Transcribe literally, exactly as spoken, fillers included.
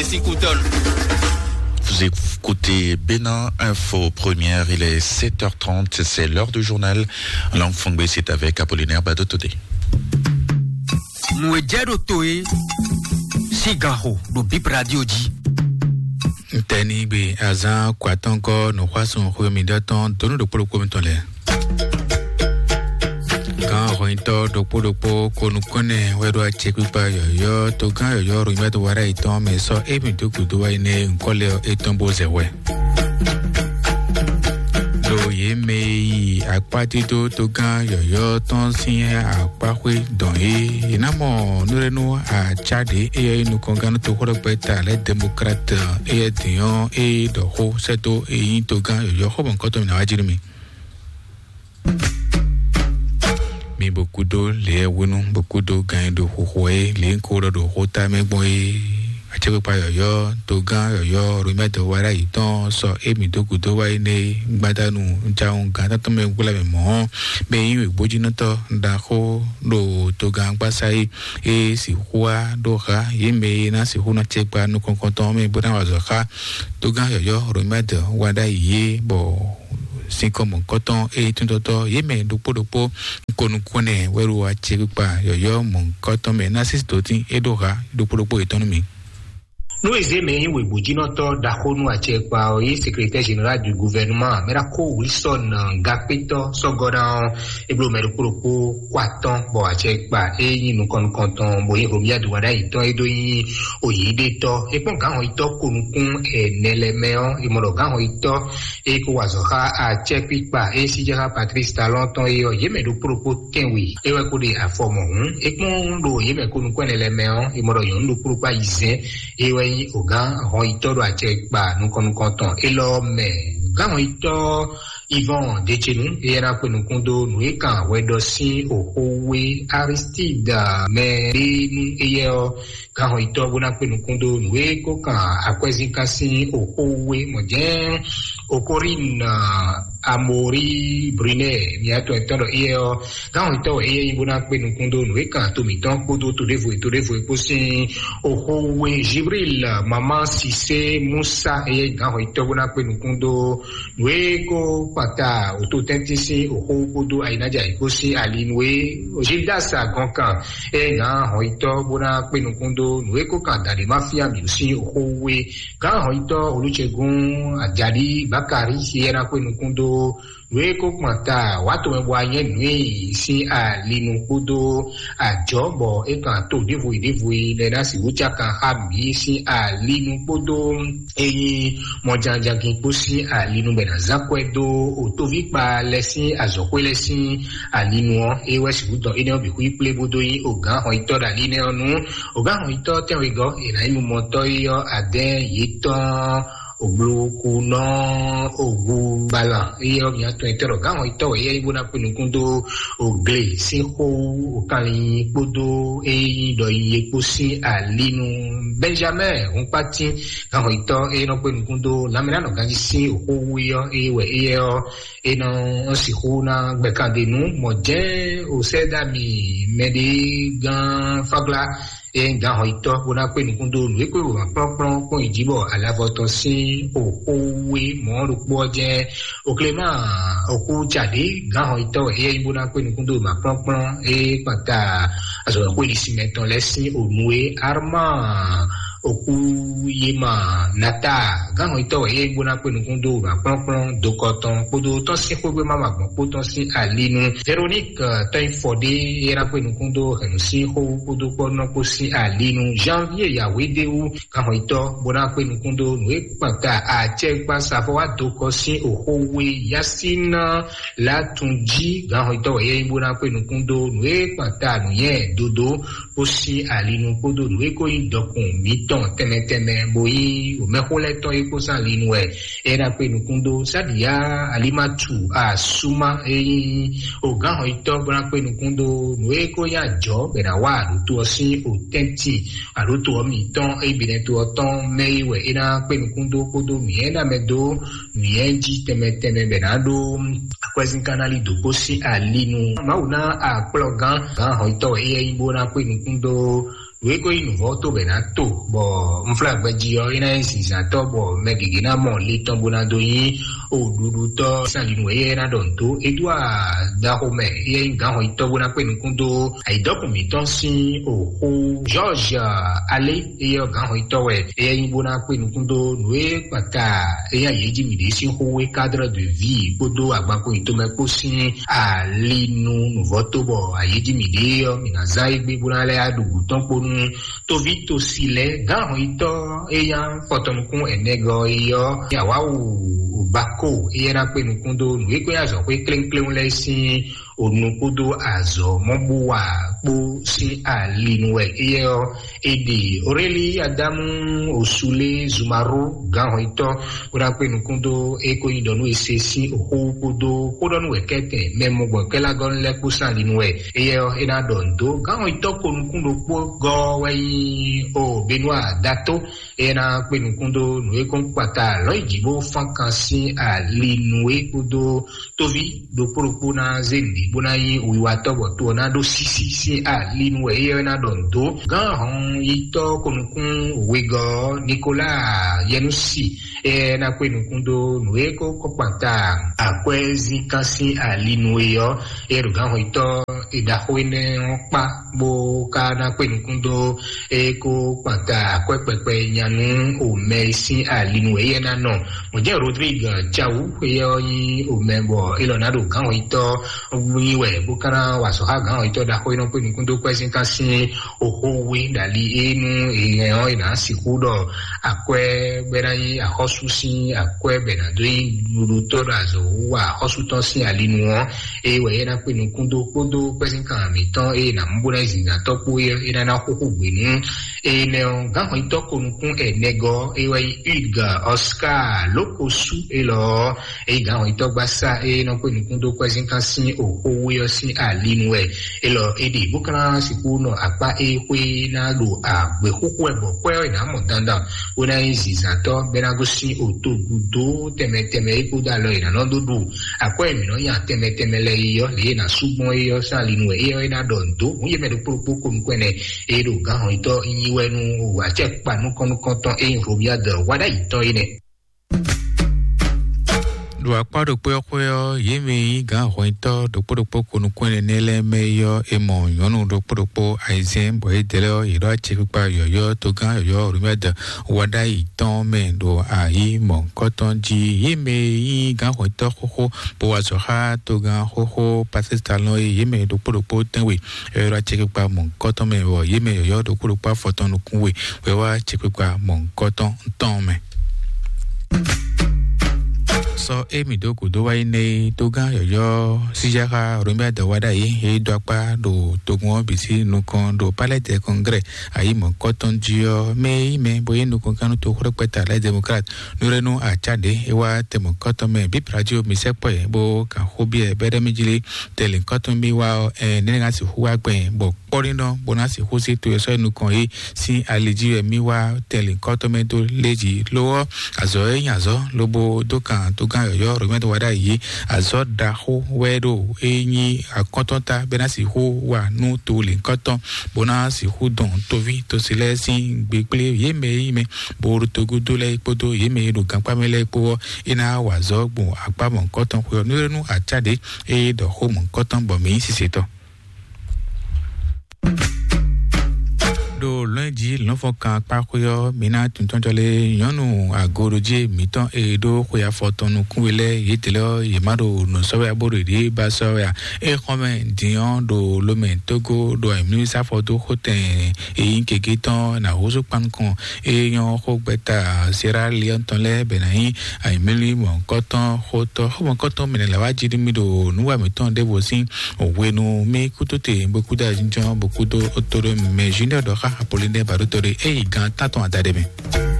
Vous écoutez Bénin Info Première, il est sept heures trente, c'est l'heure du journal. Langue Fongbe, c'est avec Apollinaire Badotodé. Nǔ e jɛ ɖo to é sín ganxo ɖo Bip Radio jí. Ntɛnigbe azán kwatɔ́nkɔ nǔxwásún xwé mi ɖɔ tɔn donu ɖokpó ɖokpó mitɔn lɛ. Gán hɔnyitɔ́ ɖokpó ɖokpó ko nukɔn nɛ wɛ ɖo acɛkpikpa yɔ̌yɔ́ togán yɔ̌yɔ́ Romuald Wadagni tɔn mɛ sɔ́ émí dó gǔdo wá yi nɛ́ ŋkɔ́ lɛ́ ɔ́, é tɔn bó zɛ hwɛ. Ɖo yě mɛ e yi akpá dídó togán yɔ̌yɔ́ tɔn sín akpáxwé dɔn é, è nǎ mɔ nǔɖénú acá ɖě éyɛ́ nyí nukɔngán nú toxóɖɔgbɛ́ta lɛ́ɛ Demokrat éyɛ́ din ɔ́, é ɖɔ xó sɛ́ dó é nyí togán yɔ̌yɔ́ xó mɔ̌hunkɔtɔn mǐ ná wá jí nú mi. Mi bó kúdó lě e hwenu bó kúdó gan e ɖo xoxo é, lě e un ko ɖɔ ɖo xóta mɛ gbɔn é. Acɛkpikpa yɔ̌yɔ́, togán yɔ̌yɔ́, Romuald Wadagni tɔn sɔ émí dó gǔdo wá yi nɛ́ gbadanu jawun gán tɔn mɛ gbla mɛ mɔ̌, mɛ e nyí wěgbójínɔtɔ́ ɖaxó ɖo togán gbasa é, é sixú wá ɖó xa yě mɛ e ná sixú ná cɛkpa nukɔn kɔntɔn mɛ bó ná wa azɔ̌ xá togán yɔ̌yɔ́ Romuald Wadagni é, bɔ sinkɔ mɔ̌hunkɔtɔn e nyí tɔ́ntɔ́tɔ́ yě mɛ ɖokpó ɖokpó ko nukɔn nɛ wɛ ɖo acɛkpikpa yɔ̌yɔ́ mɔ̌hunkɔtɔn mɛ ná sísí dǒtín é ɖó ha ɖokpó ɖokpó yětɔn nú mì. Nú e zé mɛ e nyí wěgbójínɔtɔ́ ɖaxó nú acɛkpa ɔ́, yí secrétaire général du gouvernement, mɛ ɖaxó Wilson Gakpétɔ́ sɔ́gɔ́ ná ɔ́, é bló mɛ ɖokpó ɖokpó kó atɔ́n bɔ acɛkpa e nyí nukɔn nukɔntɔn bó nyí Romuald Wadagni tɔn e dó nyí oyǐɖetɔ́. É kpɔ́n gǎnhɔnyitɔ́ ko nukún ɛnɛ lɛ́ɛ mɛ ɔ́, é mɔ ɖɔ gǎnhɔnyitɔ́ e ko wa azɔ̌ xá acɛkpikpa e síjɛ xá Patrice Talon tɔn é ɔ́, yě mɛ ɖokpó ɖokpó tɛ́nwe é wɛ ko ɖe afɔ mɔ̌hun. É kpɔ́n ɖo yě mɛ ko nukún ɛnɛ lɛ́ɛ mɛ ɔ́, é mɔ ɖɔ nyɔ̌nu ɖokpó ɖokpó ayizɛ́n é wɛ nyí ogǎn hɔnyitɔ́ ɖo acɛkpa nukɔn nukɔntɔn élɔ́ mɛ. Gǎnhɔnyitɔ́ Yvon Decenu, éyɛ́ ná kpe nukún dó nǔ e kan hwɛɖɔ sín oxówé Aristide mɛ ɖé nú éyɛ́ ɔ́, gǎnhɔnyitɔ́ bó ná kpe nukún dó nǔ e ko kan akwɛ́zínkan sín oxówé mɔ̌ jɛ́n Okorin Amori Brunɛ, mǐ atɔn etɔ́ ɖɔ éyɛ́ ɔ́, gǎnhɔnyitɔ́ wɛ éyɛ́ nyí bó ná kpe nukún dó nǔ e kan to mǐtɔn kpódó to ɖěvo e to ɖěvo e kpó sín oxówé Jibril Mamá Sisé Musa, éyɛ́ nyí gǎnhɔnyitɔ́ bó ná kpe nukún dó nǔ e ko kpata wǒtotɛ́ntin sín oxó kpódó ayǐnájɛ ayǐkó sín ali nú é. Gildas Agɔnkan e gǎn hɔnyitɔ́ bó ná kpé nukún dó nǔ e ko kan dǎɖé ma fí amǐ sín oxó wú é. Gǎn hɔnyitɔ́ Olúcegún Ajadi Bakari é ná kpé nukún dó nǔ e ko kpɔn ta wǎ tomɛ bɔ anyɛ́ nǔ e sín ali nú kpódó ajɔ̌ bɔ é kan to ɖěvo e ɖěvo e lɛ ná sixú cákan xá mǐ sín ali nú kpódó ényí mɔjánjagin kpó sín alinu bɛ ná zán kwɛ dó otóvíkpa lɛ sín azɔ̌xwé lɛ sín alinu ɔ́, é wɛ sixú dɔn énɛ́ ɔ́ bǐ xwí kplé bó dó nyí ogǎn hɔnyitɔ́ ɖo ali nɛ́ ɔ́ nu. Ogǎn hɔnyitɔ́ tɛ́nwegɔ́ è nǎ nyí numɔtɔ́ é ɔ́, adɛ́ yětɔn ogblokunɔ ogu balan é ɔ́, mǐ atɔn etɔ́ ɖɔ gǎn hɔnyitɔ́ wɛ é nyí bó ná kpé nukún dó ogle sín xó wú, okanlin kpódó é nyí ɖɔ yiyi kpó sín alinu. Benjamin Hunkpatín, gǎnhɔnyitɔ́ e nɔ kpé nukún dó lanmɛnánɔ ganjí sín oxó wú é ɔ́, é wɛ éyɛ́ ɔ́, é nɔ sixú ná gbɛkandenu mɔ jɛ́n osɛ́dami mɛɖé gán fáglá, é nyí gǎnhɔnyitɔ́ bó ná kpé nukún dó nǔ e kpé wěma kplɔ́nkplɔ́n kpɔ́n yi jí bɔ alavɔ tɔn sín oxó wú é mɔ̌ ɖokpó ɔ́ jɛ́n Oklema Oku Tsaɖé, gǎnhɔnyitɔ́ wɛ éyɛ́ nyí bó ná kpé nukún dó wěma kplɔ́nkplɔ́n é kpanta azɔ̌xwé ɖisímɛ tɔn lɛ́ɛ sín onu é. Arma Oku Yema Nata, gǎnhɔnyitɔ́ wɛ éyɛ́ nyí bó ná kpé nukún dó wěma kplɔ́nkplɔ́n dokɔ tɔn kpódó tɔn sín xwégbé máma gbɔn kpó tɔn sín alinu. Véronique Tɔ́nyifɔɖé é ná kpé nukún dó hɛ̌nnu sín xó kpódó kpɔ́nɔ kpó sín alinu. Janvier Yahweh Déwu, gǎnhɔnyitɔ́ bó ná kpé nukún dó nǔ e kpanta acɛkpa safɔ wá dokɔ sín oxó wú é. Yasín Latunjí, gǎnhɔnyitɔ́ wɛ éyɛ́ nyí bó ná kpé nukún dó nǔ e kpanta nǔnywɛ́ dodo kpó sín alinu kpódó nǔ e ko nyí dɔkun mǐtɔn tɛnmɛ tɛnmɛ bó nyí wǒmɛxó lɛ́ɛ tɔn é kpó sín alinu wɛ é ná kpé nukún dó. Sáɖiyá Alimatu Asúma é nyí ogǎnhɔnyitɔ́ bó ná kpé nukún dó nǔ e ko nyí ajɔ̌ bɛ ná wá aɖǔto ɔ́ sín otɛ́ntin aɖǔto ɔ́ mǐtɔn é bǐ nɛ́ to ɔ́ tɔn mɛ é wɛ é ná kpé nukún dó kpódó mǐ é ná mɛ dó mǐ é jí tɛnmɛ tɛnmɛ bɛ ná ɖó akwɛ́zínkánná lí dǒ kpó sín ali nú Mawu ná akplɔ́gán gǎn hɔnyitɔ́ wɛ éyɛ́ nyí bó ná kpé nukún dó Wěkó nyí nǔvɔ́ tó bɔ è nǎ to, bɔ unflágbɛjí ɔ́, é ná nyí zinzǎntɔ́, bɔ mɛ gěgé ná mɔ le tɔn bó ná dó nyí oɖuɖutɔ́. Sálinu wɛ é ná ɖɔ nǔ dó. Edouard Dahomey é nyí gǎnhɔnyitɔ́ bó ná kpé nukún dó ayǐdɔ́kun mǐtɔn sín òxú. George Alé é yɛ gǎnhɔnyitɔ́ wɛ é nyí bó ná kpé nukún dó nǔ e kpata é nyí ayéjí mǐɖée sín xówé cadre de vie kpódó agbanko yětɔn mɛ kpó sín alinu nǔvɔ́ tó, bɔ ayéjí mǐɖée ɔ́, mǐ ná zán égbé bó ná lɛ́ aɖugbǔ tɔn kpó nú tóví tosi lɛ́ɛ. Gǎnhɔnyitɔ́ é nyí afɔtɔnukún ɛnɛgɔ é ɔ́, Yawawu Bako é yɛ ná kpé nukún dó nǔ e kó nyí azɔ̌xwé klénkléwún lɛ́ɛ sín onu kpódó azɔ̌ mɔ bó wa kpó sín ali nu wɛ éyɛ́ ɔ́, è ɖe Aurélie Adamu Osule Zumaro gǎnhɔnyitɔ́ bó ná kpé nukún dó é kó nyí ɖɔ nú è se sín xó kpódó xóɖɔnúwɛkɛ́tɛn mɛ mɔgbɔnkɛ́lágɔ́nú lɛ́ɛ kpó sín ali nu wɛ. Éyɛ́ ɔ́, é ná ɖɔ nǔ dó gǎnhɔnyitɔ́ ko nukún ɖokpó gɔ́ wɛ nyí o Benoit Dato. É ná kpé nukún dó nǔ e kɔn kpata lɔ̌ yi jǐ bó fán kan sín ali nu é kpódó tóví ɖokpó ɖokpó ná zé nǔɖé bó ná nyí wiwatɔ́ bɔ to ɔ́ ná ɖó sísí sín ali nu wɛ é ɔ́ ná ɖɔ nǔ dó. Gǎn hɔn yitɔ́ ko nukún wegɔ́ Nicolas Yɛnusi é ná kpé nukún dó nǔ e kó kɔkpata akwɛ́zínkán sín ali nu é ɔ́, é ɖo gǎn hɔn yitɔ́ é ɖaxó énɛ́ ɔ́ kpá bó ka ná kpé nukún dó é kó kpata akwɛ́ kpɛkpɛ nya nú omɛ e sín ali nu wɛ éyɛ́ ná nɔ. Mɔ̌ jẹ́ Rodrigue Tchawu éyɛ́ ɔ́ nyí omɛ bɔ é lɔ ná ɖo gǎn hɔnyitɔ́ nyi wɛ bó ka ná wa azɔ̌ xá gǎn hɔnyitɔ́ ɖaxó e nɔ kpé nukún dó kwɛ́zínkán sín oxó we ɖali é nú èhɛn ɔ́, è nǎ sixú ɖɔ akwɛ́ bɔ é ná nyí axɔ́sú sín akwɛ́ bɔ è nǎ dó nyí ɖuɖutɔ́ ɖo azɔ̌ wa axɔ́sú tɔn sín ali nu ɔ́, é wɛ é ná kpé nukún dó kpódó kpɛ́zínkan mǐtɔn é ná mú bó ná zǐngǎntɔ́ kpó é é ná ná xóxó gbě nú énɛ́ ɔ́. Gǎnhɔnyitɔ́ ko nukún ɛnɛgɔ́ é wɛ nyí Hugues Oscar Lókosú élɔ́ ɔ́, é nyí gǎnhɔnyitɔ́ gbásá é nɔ kpé nukún dó kpɛ́zínkan sín òxówé ɔ́ sín ali nu wɛ. Élɔ́ é ɖe bó ka ná sixú nɔ akpá é xwé ná ɖo agběxúxú wɛ bɔ kwɛ́ ɔ́ è nǎ mɔ dandan bó ná nyí zǐnzǎntɔ́ bɔ é ná gosín oto gúdo tɛnmɛ tɛnmɛ é kpódó alɔ è nǎ nɔ dó ɖu akwɛ́ e mǐ nɔ nya tɛnmɛ tɛnmɛ lɛ́ɛ é ɔ́, lě e è nǎ súgbɔ́n é ɔ́ sín ali nu wɛ é ɔ́ é ná ɖɔ nǔ dó. Hǔn yě mɛ ɖokpó ɖokpó ko nukún ɛnɛ é ɖo gǎn hɔnyitɔ́ nyi wɛ nú acɛkpa nukɔn nukɔntɔn e nyí Romuald Wadagni tɔn é nɛ́. Ɖo akpá ɖokpó ɔ́ xwé ɔ́, yě mɛ e nyí gǎn hɔnyitɔ́ ɖokpó ɖokpó ko nukún ɛnɛ lɛ́ɛ mɛ é ɔ́, è mɔ nyɔ̌nu ɖokpó ɖokpó ayizɛ́n bɔ yědɛɛ lɛ́ɛ ɔ́, yě ɖo acɛkpikpa yɔ̌yɔ́ togán yɔ̌yɔ́ Romuald Wadagni tɔn mɛ ɖo ayǐ mɔ̌hunkɔtɔn jí. Yě mɛ e nyí gǎn hɔnyitɔ́ xóxó bó wá azɔ̌ xá togán xóxó Patrice Talon e yě mɛ ɖokpó ɖokpó tɛ́nwe e ylɔ́ acɛkpikpa mɔ̌hunkɔtɔn mɛ bɔ yě mɛ yɔ̌yɔ́ ɖokpó ɖokpó afɔtɔn nukún we wɛ wá acɛkpikpa mɔ̌hunkɔtɔn tɔn mɛ. Sɔ émí dó gǔdo wá yi nɛ e togán yɔ̌yɔ́ síjáxá Romuald Wadagni e dó akpá ɖo togun ɔ́ bǐ sín nukɔn ɖo Palais des Congrès ayǐ mɔ̌hunkɔtɔn jí ɔ́, mɛ e nyí mɛ bó nyí nukɔnkánnú toxwlɛ́kpɛ́ta lɛ́ɛ Démocrate nú ɖé nú acá ɖě é wá tɛ mɔ̌hunkɔtɔn mɛ bíblá jí omi sɛkpɔ́ ɛ bó kan xó byɔ́ ɛ bɛ́ɖɛ́ mì jí lé tɛlǐnkɔ́tɔn mì wá ɔ́, ɛ nɛ́ ná sixú wá gbɛn bɔ kpɔ́ɖínɔ bó ná sixú sí to e sɔ́ yi nukɔn é sín ali jí wɛ mì wá tɛlǐnkɔ́tɔn mɛ dó lé jí. Lo ɔ́, azɔ̌ e nyí azɔ̌ lobo dó kan togán yɔ̌yɔ́ Romuald Wadagni é, azɔ̌ ɖaxó wɛ ɖo é nyí akɔ́ntɔ́ta bɛ́ ná sixú wa nú to lǐnkɔ́tɔn bó ná sixú dɔn toví tosi lɛ́ɛ sín gbe kplé yě mɛ e nyí mɛ bo ɖo togúdo lɛ́ɛ kpódó yě mɛ e ɖo gankpá mɛ lɛ́ɛ kpó ɔ́, é ná wa azɔ̌ gbɔn akpá mɔ̌hunkɔtɔn xwe ɔ́ nú é nú acá ɖě e ɖɔ xó mɔ̌hunkɔtɔn bɔ mǐ nyí sisetɔ. Ɖo lɔ̌nyijǐ lɔ̌nfɔkan kpá xwé ɔ́, mi ná tuntɔ́n jɔ lé nyɔ̌nu agoɖojí mǐtɔn e ɖó xwe afɔ tɔn nukún we lɛ́ɛ yědɛɛ lɛ́ɛ ɔ́, yě má ɖo nǔ sɔ́ wɛ ǎ bó ɖo yěɖée ba sɔ́ wɛ ǎ. É xɔ́mɛ din ɔ́ ɖo lomɛ tógó ɖo ayǐmlúmísá afɔdóxótɛn e nyí gěgé tɔn ná húzú kpan nukɔn e nyɔ́ xó gbɛ́ta Sierra Leone tɔn lɛ́ɛ bɛ ná nyí ayǐmlúmí mɔ̌hunkɔtɔn xótɔ́ xó mɔ̌hunkɔtɔn mɛ nɛ́ lɛ́ɛ wá jí nú mì ɖo nǔ wa mǐtɔn ɖěvo sín hwenu mì kúdó te bó kúdó ayǐjínjɔ́n bó kúdó oto ɖo mɛ Junior ɖɔ xá Apollinaire Baɖótɔ́ ɖé é yi gan tántɔn adaɖé mɛ.